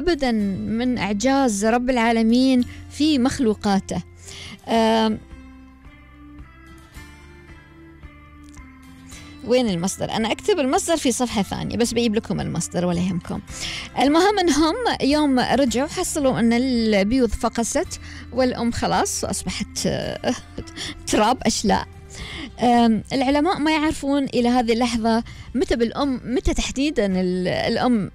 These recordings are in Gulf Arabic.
أبداً من إعجاز رب العالمين في مخلوقاته. وين المصدر؟ أنا أكتب المصدر في صفحة ثانية بس بجيب لكم المصدر ولا يهمكم. المهم أنهم يوم رجعوا حصلوا أن البيوض فقست والأم خلاص أصبحت تراب أشلاء. العلماء ما يعرفون إلى هذه اللحظة متى تحديدا الأم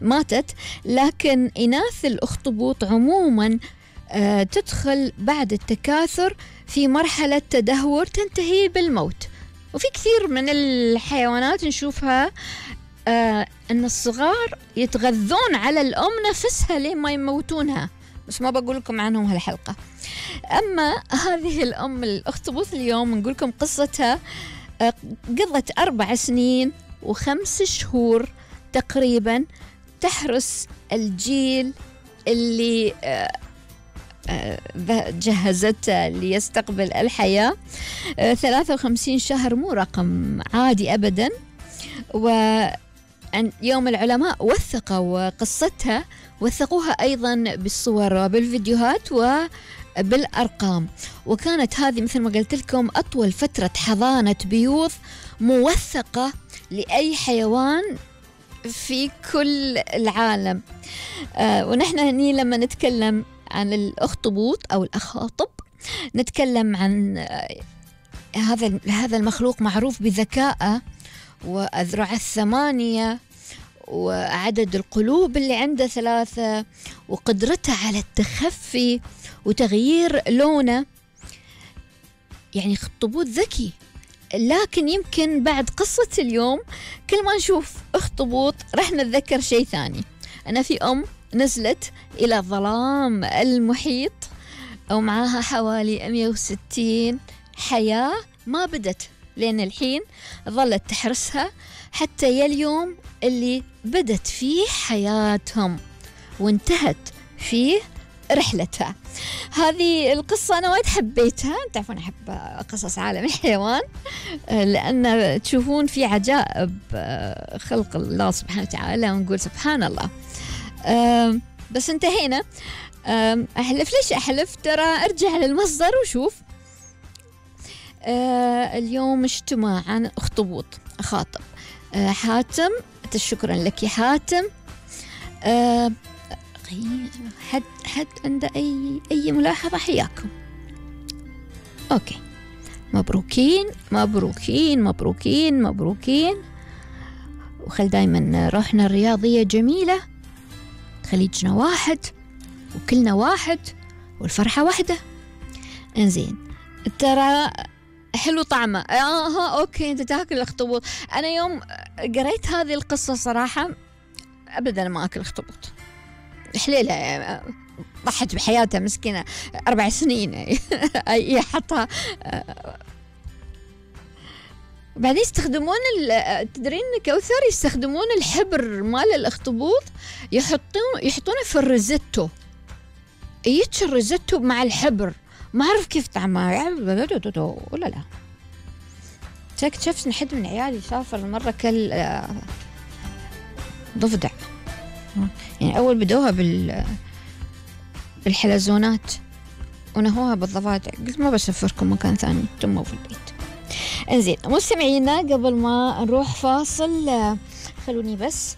ماتت، لكن إناث الأخطبوط عموما تدخل بعد التكاثر في مرحلة تدهور تنتهي بالموت. وفي كثير من الحيوانات نشوفها أن الصغار يتغذون على الأم نفسها لين ما يموتونها، بس ما بقول لكم عنهم هالحلقة. أما هذه الأم الأخطبوط اليوم نقول لكم قصتها. قضت 4 سنين و5 شهور تقريبا تحرس الجيل اللي جهزته ليستقبل الحياة. 53 شهر مو رقم عادي أبدا. ويوم العلماء وثقوا قصتها، وثقوها أيضا بالصور وبالفيديوهات وبالأرقام. وكانت هذه مثل ما قلت لكم أطول فترة حضانة بيوض موثقة لأي حيوان في كل العالم. ونحن هني لما نتكلم عن الأخطبوط أو الأخاطب نتكلم عن هذا المخلوق معروف بذكائه وأذرع 8 وعدد القلوب اللي عنده 3 وقدرته على التخفي وتغيير لونه. يعني أخطبوط ذكي. لكن يمكن بعد قصة اليوم كل ما نشوف أخطبوط رح نتذكر شيء ثاني. أنا في نزلت إلى ظلام المحيط ومعها حوالي 160 حياة ما بدت لين الحين، ظلت تحرسها حتى ياليوم اللي بدت فيه حياتهم وانتهت فيه رحلتها. هذه القصة أنا وايد حبيتها. تعرفون أحب قصص عالم الحيوان لأن تشوفون في عجائب خلق الله سبحانه وتعالى ونقول سبحان الله. بس انتهينا. أحلف ليش أحلف؟ ترى أرجع للمصدر وشوف. اليوم اجتماع عن أخطبوط أخاطب. حاتم، شكرا لك يا حاتم. حد عنده أي ملاحظة حياكم. أوكي، مبروكين مبروكين مبروكين مبروكين. وخل دايما روحنا الرياضية جميلة، خليجنا واحد وكلنا واحد والفرحة واحدة. انزين، ترى حلو طعمه. اوكي، انت تاكل الاخطبوط. انا يوم قريت هذه القصة صراحة ابدا ما اكل اخطبوط. حليلة ضحت بحياتها مسكينة 4 سنين يحطها. بعدين يستخدمون تدرين كوثر يستخدمون الحبر مال الاخطبوط يحطونه في الريزيتو. يتش الريزيتو مع الحبر. ما أعرف كيف طعمه ولا لا. شفت حد من عيالي سافر مرة كل ضفدع. يعني أول بدوها بالحلزونات ونهوها بالضفادع. قلت ما بسافركم مكان ثاني، تموا في البيت. انزين مستمعينا، قبل ما نروح فاصل خلوني بس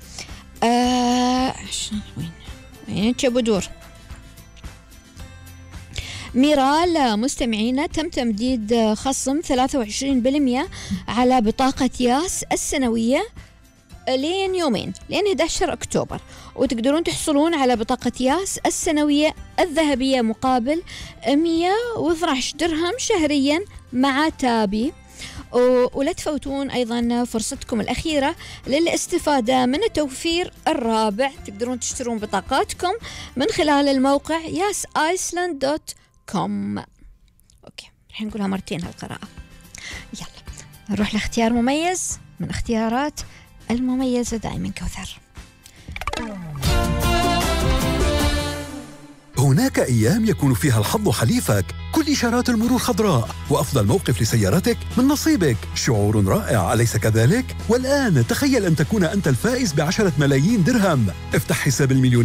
وين بدور ميرال. مستمعينا، تم تمديد خصم 23% على بطاقة ياس السنوية لين يومين، لين 11 أكتوبر. وتقدرون تحصلون على بطاقة ياس السنوية الذهبية مقابل 112 درهم شهريا مع تابي. ولا تفوتون أيضا فرصتكم الأخيرة للاستفادة من التوفير الرابع. تقدرون تشترون بطاقاتكم من خلال الموقع yasiceland.com. أوكي، رح نقولها مرتين هالقراءة. يلا نروح لاختيار مميز من اختيارات المميزة دائما كوثر. هناك أيام يكون فيها الحظ حليفك، كل إشارات المرور خضراء وأفضل موقف لسيارتك من نصيبك. شعور رائع، أليس كذلك؟ والآن تخيل أن تكون أنت الفائز ب10 ملايين درهم. افتح حساب المليون